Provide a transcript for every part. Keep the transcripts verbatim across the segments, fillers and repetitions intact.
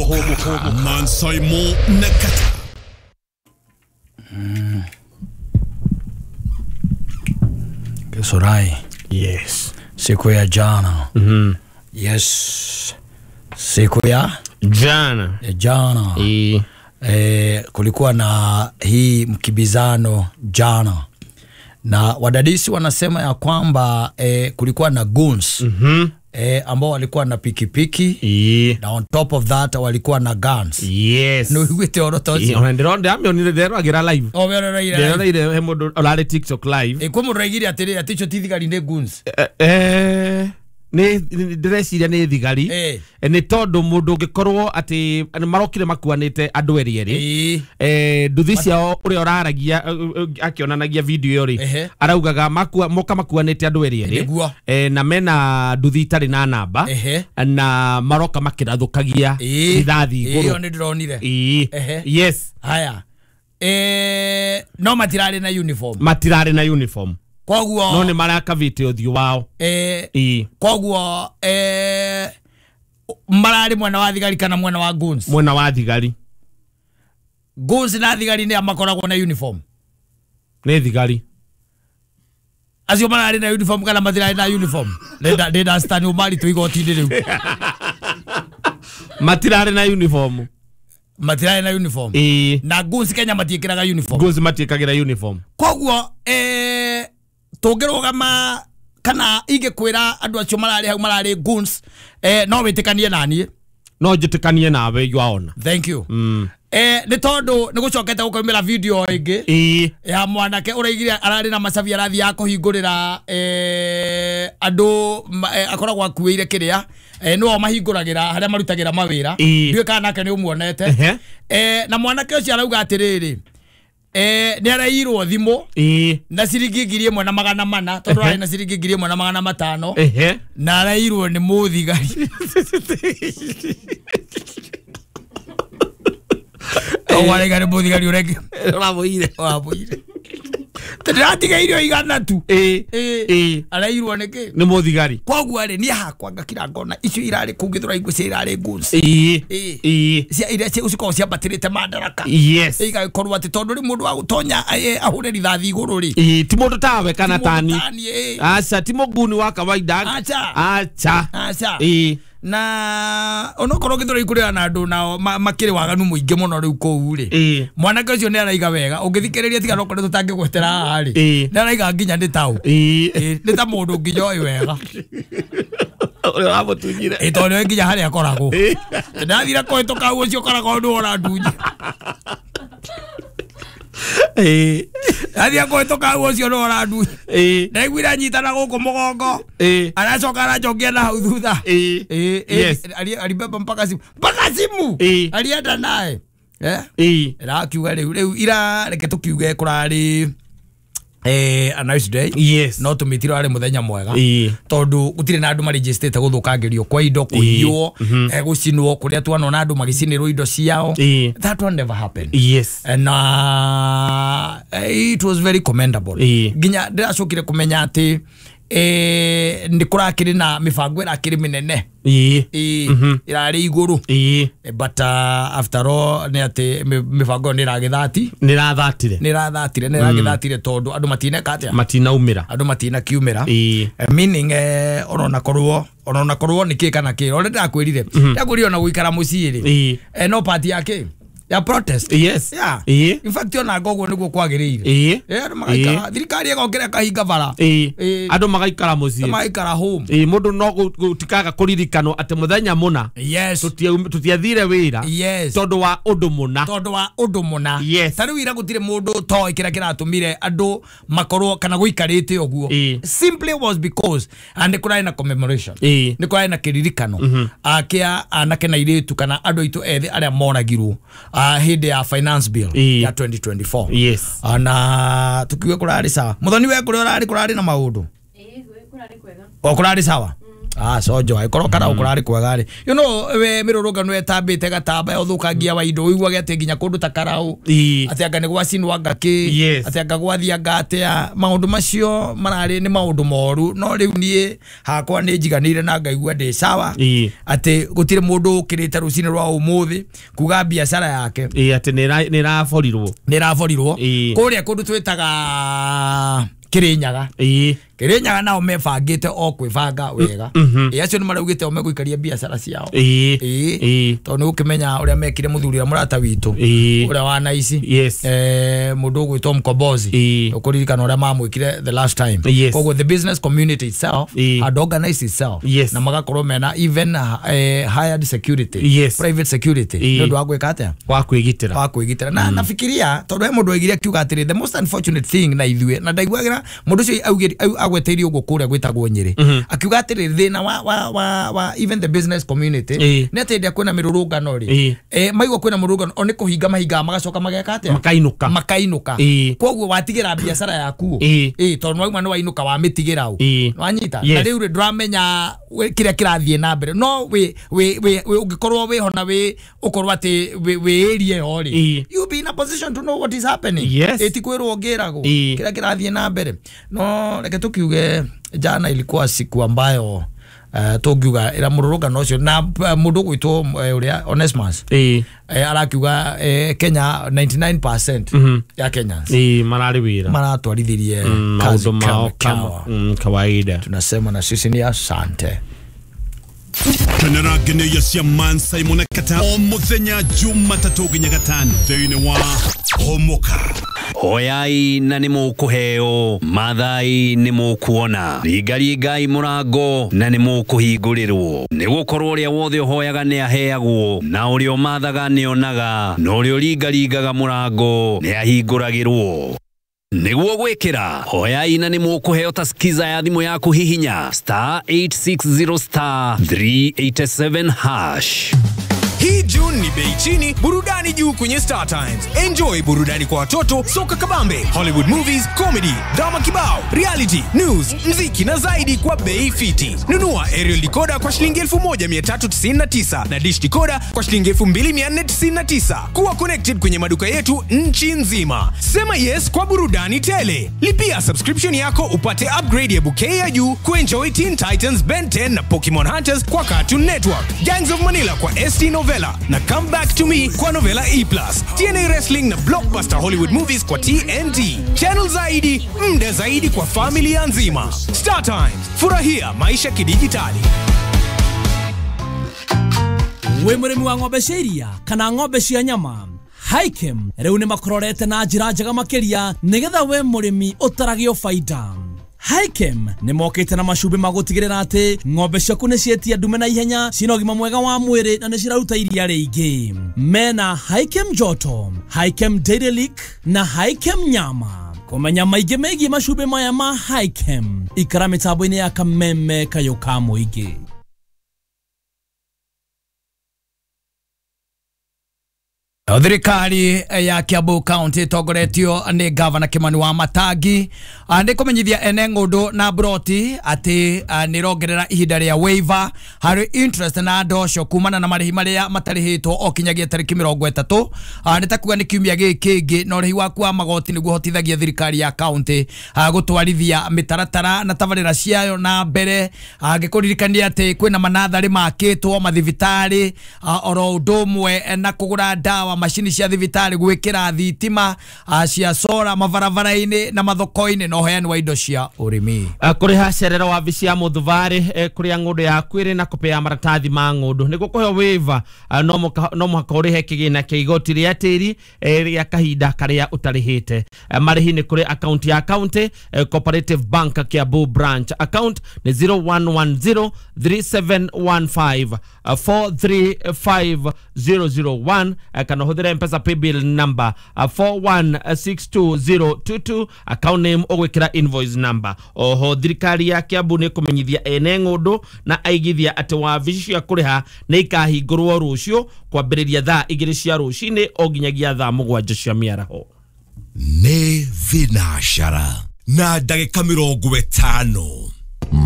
Hũmũka Mansaimo na Kata. Mm. Kesorai. Yes. Siku ya jana. Mm-hmm. Yes. Siku ya jana. Ya jana. E. E, kulikuwa na hii mkibizano jana. Na wadadisi wanasema ya kwamba e, kulikuwa na goons. Mm-hmm. E, ambao walikuwa na pikipiki. E. Na on top of that walikuwa na guns. Yes. No wite orotozi. Ona ndironde amyo ni ndero agira live. O bero raira. Ndero raira he mundu orari TikTok live. E kwa mundu raigire atiri aticho ti thigari ni guns. Eh eh ni ndireciria ni thigari. Eh. Ni tondu mundu ungikorwo ati marokire makuanite andu eri eri. Eh nduthi ciao uria uraragia akionanagia video ri araugaga makua moka makuanite andu eri eri. Eh na mena nduthi itari na namba na maroka makirathukagia rithathi iguru. Iyo ni ndironire. Yes. Haya. Eh no matirari na uniform. Matirari na uniform. Koguo no ni marakavite uthio wao. Eh e. Koguo eh marari mwena wa thigari kana mwena wa guns? Mwena wa thigari. Guns na thigari ni makoragwo na uniform. Ni thigari. Acio marari na uniform kana matirari na uniform? Nenda nenda stand umari tu igoti-ini riu. Matirari na uniform. Matirari na uniform. E. Na guns Kenya matiikiraga uniform. Guns matiikagira uniform. Koguo eh tungirugama kana ingikwira andu acio marari hau marari guns eh no witikanie nanie no njitikanie nawe yaona. Thank you. Mm. Eh ni tondu ni gucokete gukaumira video ingi e. ya mwanake uraigire arari na macabi arathi ya kuhingurira eh andu eh, akoragwo akuire kiria eh no mahinguragira haria marutagira mawira ndiwe kana nake ni umuonete eh na mwanake ucio arauga atiriri eh ni arairwo thimu eh na ciringi ngiri imwe na magana mana tondu arari na ciringi ngiri imwe na magana matano ehe na arairwo ni muthigari. O warega ni muthigari ureke uramuire uramuire ndatiga irio igana tu eh eh arairwo niki ni muthigari. Koguo ri ni hakwa ngakira ngona icio irari kungithura igwe cia irari guns eh eh cia iria cia ucikorwo ciambatirite madaraka. Yes. Igakorwo ati tondu ri mundu wa gutonya ahure rithathi iguru ri eh ti mundu tawe kana tani acha ti muguni wa kawaida acha acha acha eh na onokorwo githura ikuria na andu nao makiri waganu muingi muno riu kuu ri mwanake ucio ni araiga wega ungithikiriria tiga nokorwo tutangigwetera haha ri ni araiga nginya ni tau ni ta mundu nginya oĩ wega uria uramutunyire ĩ tondu nginya haria akoragwo ndathira kuhituka ucio koragwo ndu urandunye eh athia kuhituka ucio no urandunye eh ndaiguire nyitana guku mugongo eh aracoka aracokia na hau thutha eh eh alibeba mpaka simu mpaka simu alienda naye eh eh rakiuga riu riu ira reke tukiuge kurari eh a nice day. Yes. No tumitiro ari muthenya mwega e. Tondu gutire na andu maregistete guthukangirio kwa indo kuiywo e gucinwo kuria twanona andu magicinirwo indo ciao. That one never happened. Yes. Na it was very commendable. Nginya ndiracokire kumenya ati eh ndi kurakiri na mibango irakiri minene eh irari iguru but uh, after all ni ati mibango ni iragithati ni irathatire ni irathatire ni iragithatire tondu andu matineka atia matinaumira andu matina kiumira meaning eh orona korwo orona korwo ni ki kana ki ore ndakwirire ndakwirire ona guikara mucii ri eh no party yake ya protest. Yes. Yeah. Eh. In fact ona ngoguo niguo kwagiriire. Eh. Eh andu magaikara thirikari igokira kahinga bara. Eh. Eh andu magaikara mucii. Magaikara home. Eh mundu no gutikaga kuririkanwo ati muthenya muna. Yes. Tutiathire wira. Yes. Tondu wa undu muna. Tondu wa undu muna. Yes. Ta riu ira gutire mundu toi kira kiratumire andu makorwo kana guikarite uguo. Simply was because and kurari na commemoration. Eh. Ni kurari na kiririkano. Akia anake na iritu kana andu aitu ethi aria moragirwo uh, hindi ya finance bill e. ya twenty twenty-four. Yes. Na tukiwe kurari sawa. Muthoni we kuri urari kurari na maundu. Eh, kurari kwega. O kurari sawa. Ah sojo aikorwo karau kurari kwega ri you know we mirurungano etambite gatamba yothukangia wa indo uiguage ati nginya kundu ta karau ati anga ni gwacinwa ngaki ati anga gwathianga atia maundu macio marari ni maundu moru no riu nie hakwa ni njiganire na ngaigua ndi sawa ati gutire mundu ukirite rucini rwa umuthi kuga biacara yake ati ni raborirwo ni raborirwo kuria kundu twitaga Kirinyaga Kirinyaga nao mebangite o kwibanga wega ĩ acio nĩ maraugĩte o megũikaria biacara ciao ĩ tondũ nĩ ũkĩmenya ũrĩa mekire mũthuri ũrĩa mũrata witũ ũrĩa wa naici eh mũndũ ũgwĩtwo Mkombozi ũkũririkana ũrĩa mamwĩkire the last time. Koguo the business community itself had organized itself na magakorwo mena even hired security, private security nĩ ũndũ wa gwĩka atĩa wa kwĩgitĩra wa kwĩgitĩra na nafikiria tondũ he mũndũ oigire akiuga atĩrĩ the most unfortunate thing na ithuĩ na ndaiguagĩra mũndũ ũcio augire agweteirie ũguo kũrĩa gwĩtagwo Nyĩrĩ akiuga atĩrĩ thĩna wa wa wa wa even the business community nĩ atĩ hĩndĩ ĩrĩa kwĩna mĩrũrũngano rĩ eh maigua kwĩna mũrũrũngano o nĩ kũhinga mahingaga magacoka mageka atĩa makainuka makainuka koguo watigĩra biacara yaku ĩ tondũ wauma nĩ wainũka wamĩtigĩra ũ wanyita na rĩu rĩ ndũramenya kĩrĩa kĩrathiĩ na mbere no wĩ wĩ ũngĩkorwo wĩho na wĩ ũkorwo atĩ wĩ area ĩyo rĩ you be in a position to know what is happening ĩ kwĩrwo ũngĩragwo kĩrĩa kĩrathiĩ na mbere no reke tukiuge jana ilikuwa siku ambayo uh, tungiuga ira mururungano ucio na uh, mundu gwitwo uh, uria Onesmus eh eh, arakiuga eh, Kenya ninety-nine percent mm -hmm. ya Kenyans eh marari wira maratwarithirie mm, kazi mao kama mm, kawaida tunasema na sisi ni asante. Kenera geneya cia Man Simon Kata o muthenya Jumatatu nginya gatano thiini wa Homoka. Hoyai na nĩ mũkũheo, mathai nĩ mũkuona, ringaringai mũrango na nĩ mũkũhingũrĩrwo. Nĩ gũkorwo ũrĩa wothe ũhoyaga nĩ aheagwo, na ũrĩa ũmathaga nĩ onaga, na ũrĩa ũringaringaga mũrango nĩ ahingũragĩrwo. Nĩguo gwĩkĩra hoyai na nĩ mũkũheo ta skiza ya thimũ yaku hihinya star eight six zero star three eight seven hash. Hii June ni bei chini, burudani juu kwenye Star Times. Enjoy burudani kwa watoto, soka kabambe, Hollywood movies, comedy, drama kibao, reality, news, mziki na zaidi kwa bei fiti. Nunua aerial decoder kwa shilingi elfu moja mia tatu tisini na tisa na dish decoder kwa shilingi elfu mbili mia nne tisini na tisa. Kuwa connected kwenye maduka yetu nchi nzima. Sema yes kwa burudani tele. Lipia subscription yako upate upgrade ya bouquet ya juu kuenjoy Teen Titans, Ben ten na Pokemon Hunters kwa Cartoon Network, Gangs of Manila kwa S T Novella na Come Back to Me kwa Novella E plus, T N A Wrestling na Blockbuster Hollywood Movies kwa T N T. Channel zaidi, mda zaidi kwa familia nzima. Star Times, furahia maisha kidijitali. We mũrĩmi wa ng'ombe cia iria kana ng'ombe cia nyama, Hikem rĩu nĩ makororete na njĩra njega makĩria nĩgetha we mũrĩmi ũtaragio faida. Hikem nĩ mokĩte na macumbĩ ma gũtigĩrĩra atĩ ng'ombe ciaku nĩ cietia ndume na ihenya, cina ũgima mwega wa mwĩrĩ na nĩ ciraruta iria rĩingĩ. Mena Hikem Joto, Hikem Dairy Lick na Hikem Nyama. Kũmenya maingĩ megiĩ macumbĩ maya ma Hikem, ikara mĩtambo-inĩ ya Kameme Kayũ ka Mũingĩ. Thirikari ya Kiambu County ĩtongoretio nĩ Gavana Kimani wa Matangi nĩ kũmenyithia ene ng'ũndũ na broti atĩ nĩ ĩrongerera ihinda rĩa waiver harĩ interest na ndosho kumana na marĩhi marĩa matarĩhĩtwo o kinyagia tarĩki mĩrongo ĩtatũ nĩ ta kuga nĩ kiumia gĩkĩ kĩngĩ na ũrĩhi waku wa magoti nĩguo hotithagia thirikari ya county gũtwarithia mĩtaratara na tabarĩra ciayo na mbere ngĩkũririkania atĩ kwĩna manatharĩ makĩtwo mathibitarĩ oro ũndũ ũmwe na kũgũra ndawa macini cia thibitarĩ gwĩkĩra thitima cia sora mabarabara-inĩ na mathoko-inĩ na ũheani wa indo cia ũrĩmi. Kũrĩha cerero wabici ya mũthubarĩ kũrĩa ng'ũndũ yaku ĩrĩ na kũpea maratathi ma ng'ũndũ nĩguo kũheo waiver no mũhaka ũrĩhe kĩgĩna kĩa igoti rĩa tĩri rĩa kahinda karĩa ũtarĩhĩte. Marĩhi nĩ kũrĩ akaunti ya county Cooperative Bank Kiambu branch account nĩ zero one one zero three seven one five four three five zero zero one kana ũhũthĩre M-Pesa paybill number four one six two zero two two account name ũgwĩkĩra invoice number. Oho thirikari ya Kiambu nĩ kũmenyithia ene ng'ũndũ na aigithia atĩ wabici cia kũrĩha nĩ ikahingũrwo rũciũ kwambĩrĩria thaa igĩrĩ cia rũcinĩ o nginyagia thaa mũgwanja cia mĩaraho. Nĩ thinacara na ndagĩka mĩrongo ĩtano.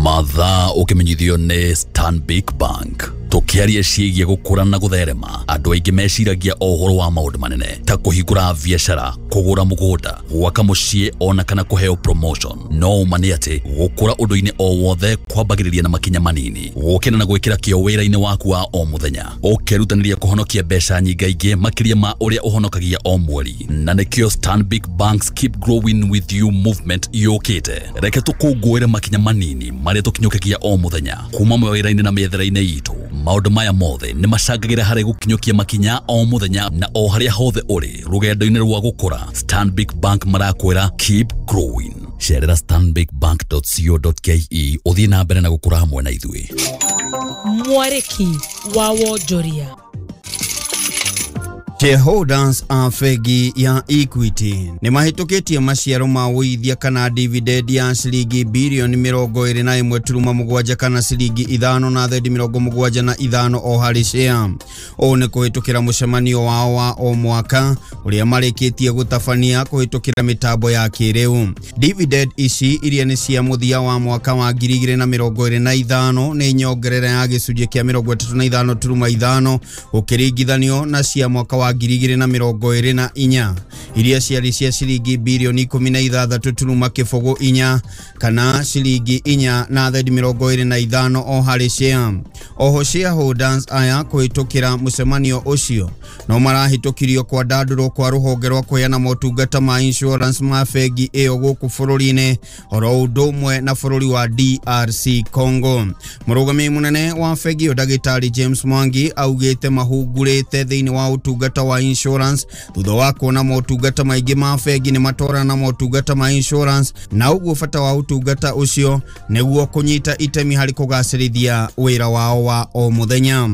Mathaa ũkĩmenyithio nĩ Stanbic Bank. Tũkĩaria ciĩgiĩ gũkũra na gũtherema, andũ aingĩ meciragia o ũhoro wa maũndũ manene ta kũhingũra biacara, kũgũra mũgũnda, gwaka mũciĩ ona kana kũheo promotion. No ũma nĩ atĩ gũkũra ũndũ-inĩ o wothe kwambagĩrĩria na makinya manini, gũkĩra na gwĩkĩra kĩo wĩra-inĩ waku wa o mũthenya, ũkerutanĩria kũhonokia mbeca nyingaingĩ makĩria ma ũrĩa ũhonokagia o mweri. Na nĩkĩo Stanbic Bank's Keep Growing With You movement yũkĩte. Reke tũkũngũĩre makinya manini marĩa tũkinyũkagia o mũthenya kuma mawĩra-inĩ na mĩethere-inĩ itũ. Maũndũ maya mothe nĩ macangagĩra harĩ gũkinyũkia makinya o mũthenya na o harĩa hothe ũrĩ rũgendo-inĩ rwa gũkũra. Stanbic Bank marakwĩra keep growing. Cerera stanbic bank dot co dot ke ũthiĩ na mbere na gũkũra hamwe na ithuĩ. Mwarĩki wa wonjoria. Shareholders a bengi ya Equity nĩ mahĩtũkĩtie maciaro ma ũigithia kana dividend ya ciringi birioni mĩrongo ĩrĩ na ĩmwe turuma mũgwanja kana ciringi ithano na thendi mĩrongo mũgwanja na ithano o harĩ share. Ũũ nĩ kũhĩtũkĩra mũcemanio wao wa o mwaka ũrĩa marĩkĩtie gũtabania kũhĩtũkĩra mĩtambo ya kĩrĩu. Dividend ici iria nĩ cia mũthia wa mwaka wa ngiri igĩrĩ na mĩrongo ĩrĩ na ithano nĩ nyongerera ya gĩcunjĩ kĩa mĩrongo ĩtatũ na ithano turuma ithano ũkĩringithanio na cia mwaka wa ngiri igĩrĩ na mĩrongo ĩrĩ na inya iria ciarĩ cia ciringi birioni ikũmi na ithathatũ turuma kĩbũgũ inya kana ciringi inya na thendi mĩrongo ĩrĩ na ithano o harĩ share. Oho shareholders aya kũhĩtũkĩra mũcemanio ũcio no marahĩtũkirio kwandandũrwo kwa rũhonge rwa kũheana motungata ma insurance ma bengi ĩyo gũkũ bũrũri-inĩ oro ũndũ ũmwe na bũrũri wa D R C Congo. Mũrũgamĩrĩri mũnene wa bengi ĩyo Ndagĩtarĩ James Mwangi augĩte mahungurĩte thĩinĩ wa ũtungata wa insurance thutha wa kuona motungata maingĩ ma bengi nĩ matwarana na motungata ma insurance na ũguo bata wa ũtungata ũcio nĩguo kũnyita itemi harĩ kũgacĩrithia wĩra wao wa o mũthenya.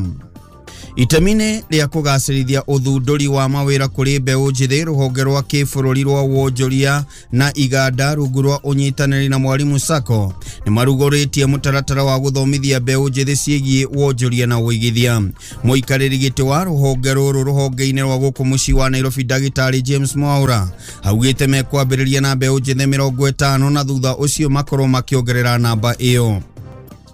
Itemi-inĩ rĩa kũgacĩrithia ũthundũri wa mawĩra kũrĩ mbeũ njĩthĩ, rũhonge rwa kĩbũrũri rwa wonjoria na iganda rungu rwa ũnyitanĩri na Mwalimu Sacco nĩ marugũrĩtie mũtaratara wa gũthomithia mbeũ njĩthĩ ciĩgiĩ wonjoria na ũigithia. Mũikarĩri gĩtĩ wa rũhonge rũrũ rũhonge-inĩ rwa gũkũ mũciĩ wa Nairobi Ndagĩtarĩ James Mwaura augĩte mekwambĩrĩria na mbeũ njĩthĩ mĩrongo ĩtano na thutha ũcio makorwo makĩongerera namba ĩyo.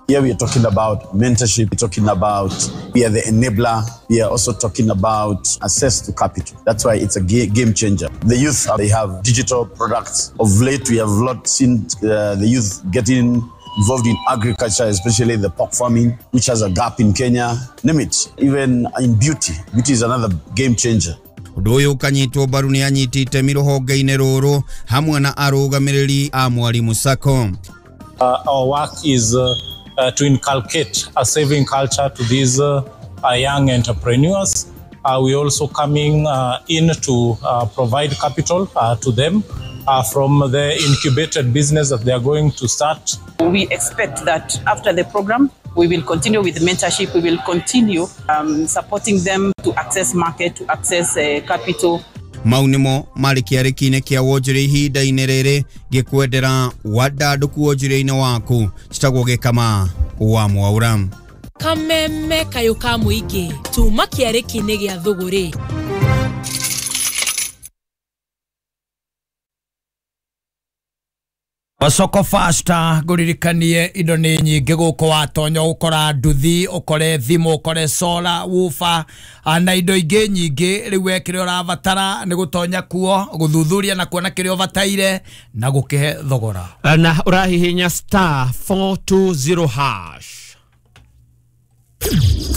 Here we are talking about mentorship, we're talking about we are the enabler, we are also talking about access to capital. That's why it's a game changer. The youth, they have digital products. Of late, we have lot seen uh, the youth getting involved in agriculture, especially the pork farming, which has a gap in Kenya. Name it. Even in beauty, beauty is another game changer. Ũndũ ũyũ ũkanyitwo mbaru nĩ anyiti itemi rũhonge-inĩ rũrũ hamwe na arũgamĩrĩri a Mwalimu Sacco. Uh, our work is uh, Uh, to inculcate a saving culture to these uh, uh, young entrepreneurs. Uh, we're also coming uh, in to uh, provide capital uh, to them uh, from the incubated business that they are going to start. We expect that after the program, we will continue with mentorship. We will continue um, supporting them to access market, to access uh, capital. Mau nĩmo marĩ kĩarĩki-inĩ kĩa wonjoria ihinda-inĩ rĩrĩ ngĩkwendera wandandũku wonjoria-inĩ waku. Citagwo Gĩkama wa Mwaura. Kameme kayũ ka mũingĩ tuma kĩarĩki-inĩ gĩa thũgũrĩ. Soko Fasta ngũririkanie indo nĩ nyingĩ gũkũ watonya ũkora nduthi ũkore thimũ ũkore sola wufa na indo ingĩ nyingĩ. Rĩu we kĩrĩa ũrabatara nĩ gũtonya kuo gũthuthuria na kuona kĩrĩa ũbataire na gũkĩhe thogora na ũrahihinya star four two zero hash.